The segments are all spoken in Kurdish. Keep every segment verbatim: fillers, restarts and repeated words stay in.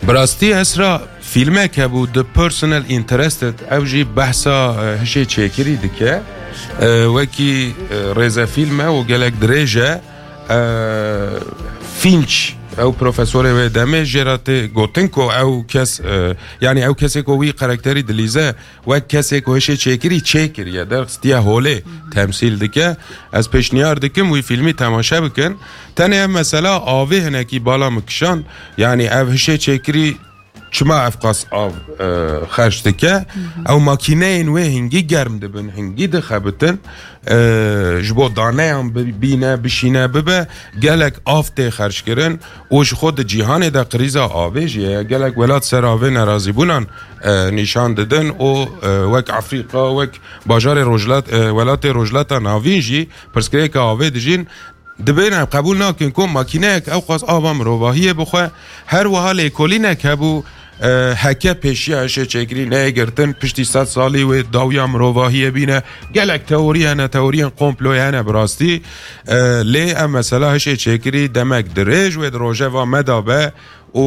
Bi rastî Esra, fîlmek hebû, The Personal Interested, ew jî behsa, e, hişê çêkirî dike. E, wekî, e, rêzefîlm e û gelek dirêj e. E, Finch, ew profesorê wê demê, jê re tê gotin ku ew kes, e, yanî ew kesê ku wî karakterî dilîze, wek kesê ku hişê çêkirî çêkiriye, derxistiye holê temsîl dike. Ez pêşniyar dikim wî fîlmî temaşe bikin. Tenê ev mesela avê hinekî bala min kişand. Yanî ev hişê çêkirî çima ev qas av, e, xerc dike? Ew makîneyên wê hingî germ dibin, hingî dixebitin. E, ji bo daneyan bi-, bîne, bişîne, bibe, gelek av tê xerckirin û ji xwe di cîhanê de krîza avê jî heye. Gelek welat ser avê nerazîbûnan, e, nîşan didin û, e, wek Efrîka, wek bajarê rojhilat-, e, welatê Rojhilata Navîn jî pirsgirêka avê dijîn. Dibên em qebûl nakin ku makîneyek ew qas ava mirovahiyê bixwe, her wiha lêkolînek hebû, e, heke pêşiya hişê çêkirî neyê girtin, piştî sed salî wê dawiya mirovahiyê bîne. Gelek teorî hene, teoriyên komployê hene bi rastî. E, lê ev mesela hişê çêkirî demek dirêj wê di rojeva me de be û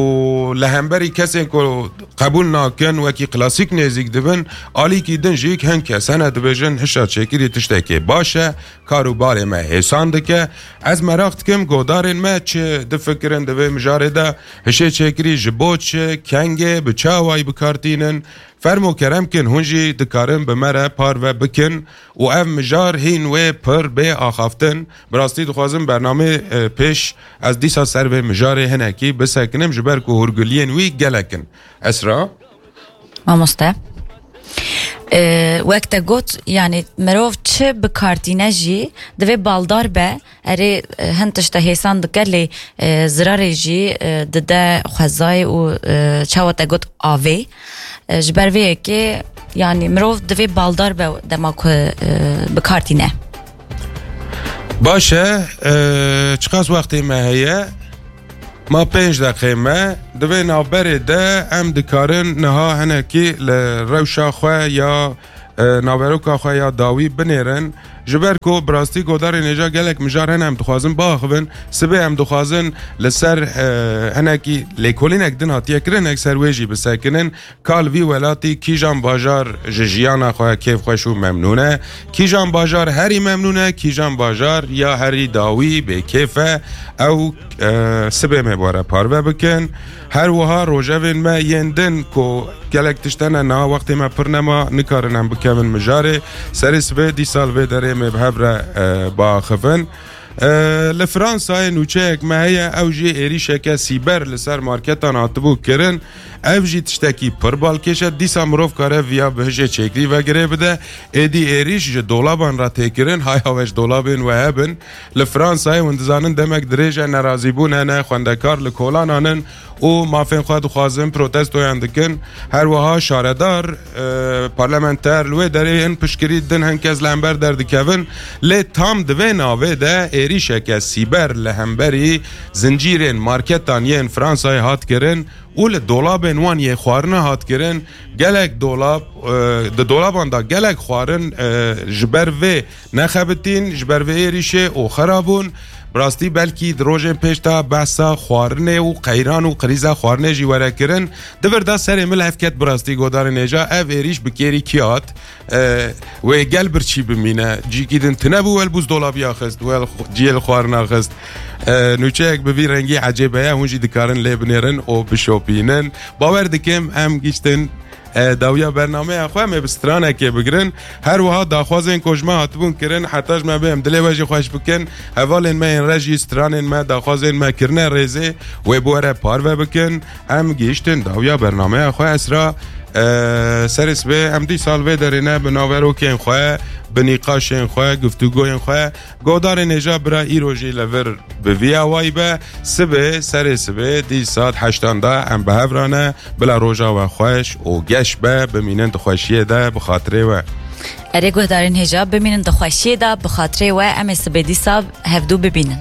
li hemberî kesên ku qebûl nakin, wekî klasîk nêzîk dibin, alîkî din jî hin kes hene dibêjin hişa çêkirî tiştekê baş e, kar û barê me hêsan dike. Ez meraq dikim godarên me çi difikirin di vê mijarê de, hişê çêkirî ji bo çi, kengê, bi çi awayî bi kar tînin? Fermo kerem kin, hûn jî dikarin bi me re parve bikin û ev mijar hîn wê pir bê axaftin. Bi rastî dixwazim bernamê, e, pêş ez dîsa ser vê mijarê hinekî bisekinim, ji ber ku hûrguliyên wî gelek in. Esra? Mamoste. E, wek te got, yanî mirov çi bi kar tîne jî divê baldar be. Erê, e, hin tişte hêsan dike, lê, e, zirarê jî, e, dide xwezayê û, e, çawa te got avê. E, ji ber vê yekê, yanî mirov divê baldar be dema ku, e, bi kar tîne. Baş e, e, çiqas wextê me heye? Ma pênc deqê me. Di vê navberê de em dikarin niha hinekî li rewşa xwe ya, e, naveroka xwe ya dawî binêrin. Ji ber ku bi rastî godarên hêja gelek mijar hene em dixwazin biaxivin. Sibê em dixwazin li ser, e, hinekî lêkolînek din hatiye kirinek ser wê jî bisekinin. Ka li vî welatî kîjan bajar ji jiyana xwe kêfxweş û memnûn e, kîjan bajar herî memnûn e, kîjan bajar ya herî dawî bêkêf e, ew, e, sibê me bi we re parve bikin. Her wiha rojevên me yên din ku gelek tişt hene niha wextê me pir nema, nikarin em bikevin mijarê. Serê sibê dîsa li vê derê me bi hev re, e, biaxivin. E, li Fransayê nûçeyek me heye, ew jî êrîşeke sîber li ser marketan hatibû kirin. Ev jî tiştekî pir balkêş e. Dîsa mirov kare viya bi hişê çêkirî ve girê bide. Êdî êrîş ji dolaban re tê kirin. Haya we ji dolabên we hebin. Li Fransayê hûn dizanin demek dirêj e nerazîbûn hene, xwendekar li kolanan in û mafên xwe dixwazin, protestoyan dikin. Her wiha şaredar, e, parlamenter li wê derê hin piştgirî didin, hin kes li hember derdikevin. Lê tam di vê navê de êrîşeke sîber li hemberî zincîrên marketan yên Fransayê hat kirin û li dolabên wan yê xwarina hat kirin. Gelek dolab, e, di dolaban de gelek xwarin, e, ji ber vê nexebitîn, ji ber vê êrîşê û xera bûn. Bi rastî belkî di rojên pêş de behsa xwarinê û qeyran û krîza xwarinê jî were kirin. Di vir de serê min li hev ket bi rastî godarên hêja, ev êrîş bi kêrî kî hat? E, wê gel birçî bimîne. Cîkî din tune bû, wel bûzdolabiya xist, wel xu-, ciyê li xwarina xist. E, nûçeyek bi vî rengî ecêbe ye, hûn jî dikarin lê binêrin û bişopînin. Bawer dikim em giştin, e, dawiya bernameya xwe em ê bi stranekê bigirin. Her wiha daxwazên ku ji me hatibûn kirin, heta ji me bê em dilê we jî xweş bikin. Hevalên me yên re jî stranên me, daxwazên me kirine rêzê, wê bi we re parve bikin. Em gihiştin dawiya bernameya xwe Esra. E, serê sibê em dîsa li vê derê ne bi naverokên xwe, bi nîqaşên xwe, guftûgoyên xwe. Godarên hêja bira îro jî li vir bi vî awayî be. Sibê, serê sibê dîsa heştan de em bi hev re ne. Bila roja we xweş û geş be, bimînin di xweşiyê de bi xatirê we. Erê guhdarên hêja, bimînin di xweşiyê de bi xatirê we, em ê sibê dîsa hevdû bibînin.